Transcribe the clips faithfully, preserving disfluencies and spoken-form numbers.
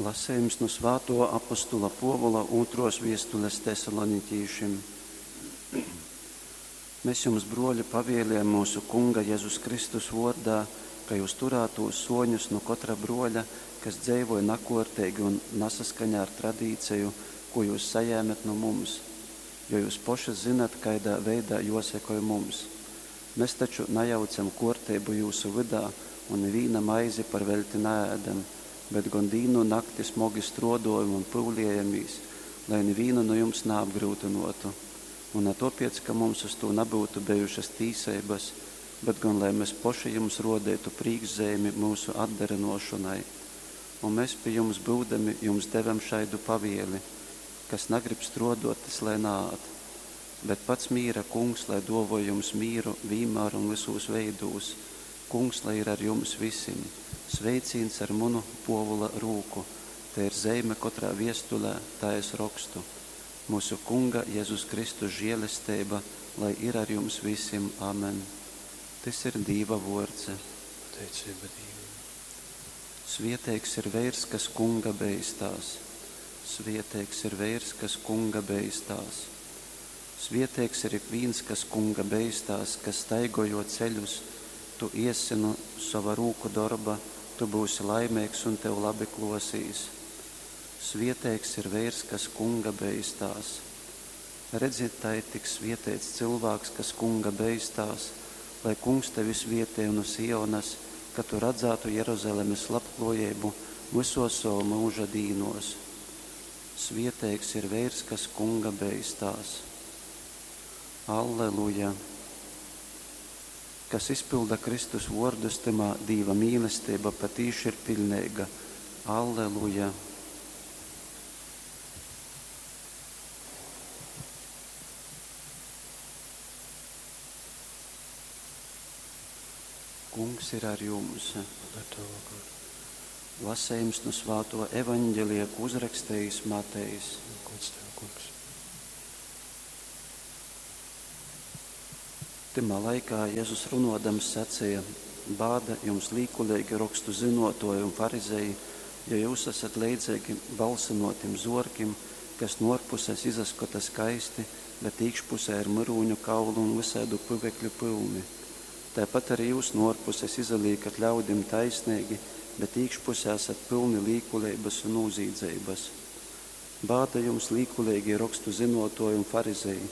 Lasejums nu svātuo apostula Puovula ūtruos viestules Tesaloniķīšim. Mes jums, bruoļi, pavieliejam myusu Kunga Jezus Kristus vuordā, ka jyus turātūs suoņus nu kotra bruoļa, kas dzeivoj nakuorteigi un nasaskaņā ar tradīceju, kū jyus sajēmet nu mums. Jo jyus poši zynat, kaidā veidā juosekoj mums. Mes taču najaucem kuorteibu jyusu vydā un nivīna maizi par veļti naēdem, bet gon dīnu un nakti smogi struoduojom un pyuliejamīs, lai nivīnu nu jums naapgryutynuotu. Un na tuopiec, ka mums uz tū nabyutu bejušas tīseibas, bet gon lai mes poši jums ruodeitu prīškzeimi myusu atdarynuošonai. Un mes, pi jums byudami, jums devem šaidu pavieli: kas nagrib struoduot, tys lai naād. Bet pats mīra Kungs lai duovoj jums mīru vīnmār un vysūs veidūs. Kungs lai ir ar jums visim. Sveicīns ar munu, Puovula, rūku. Tei ir zeime kotrā viestulē, tai es rokstu. Myusu Kunga Jezus Kristus žielesteiba lai ir ar jums visim. Amen. Tys ir Dīva vuords. Pateiceiba Dīvam. Svieteigs ir veirs, kas Kunga beistās. Svieteigs ir veirs, kas Kunga beistās. Svieteigs ir ikvīns, kas Kunga beistās, kas staigoj juo ceļus. Tu iessi nu sova rūku dorba, tu byusi laimeigs un tev labi kluosīs. Svieteigs ir veirs, kas Kunga beistās. Redzi, tai tiks svieteits cylvāks, kas Kunga beistās, lai Kungs tevi svietej nu Sionas, ka tu radzātu Jeruzalemes labkluojeibu vysuos sova myuža dīnuos. Svieteigs ir veirs, kas Kunga beistās. Alleluja! Kas izpylda Kristus vuordus, tymā Dīva mīlesteiba patīši ir piļneiga. Alleluja! Kungs ir ar jums. Un ar tavu goru. Lasejums nu svātuo evaņģelija, ko uzrakstejis Matejs. Gods tev, Kungs. Tymā laikā Jezus runuodams saceja: Bāda jums, līkuleigi rokstu zynuotuoji un farizeji, jo jyus asat leidzeigi balsynuotim zuorkim, kas nu uorpuses izaskota skaisti, bet īkšpusē ir myrūņu kaulu un vysaidu pyvekļu pylni. Taipat ari jyus nu uorpuses izalīkat ļaudim taisneigi, bet īkšpusē asat pylni līkuleibas un nūzīdzeibas. Bāda jums, līkuleigī rokstu zynuotuoji un farizeji!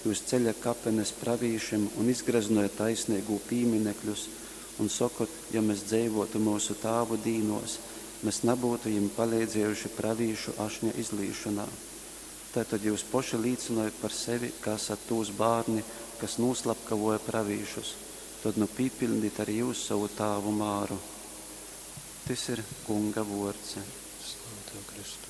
Jyus ceļat kapenes pravīšim un izgreznojat taisneigū pīminekļus un sokot: jo mes dzeivuotu myusu tāvu dīnuos, mes nabyutu jim paleidziejuši pravīšu ašņa izlīšonā. Tai tod jyus poši līcynojat par sevi, ka asat tūs bārni, kas nūslapkavoja pravīšus. Tod nu pīpiļdit ari jyus sovu tāvu māru. Tys ir Kunga vuords. Slava tev, Kristu.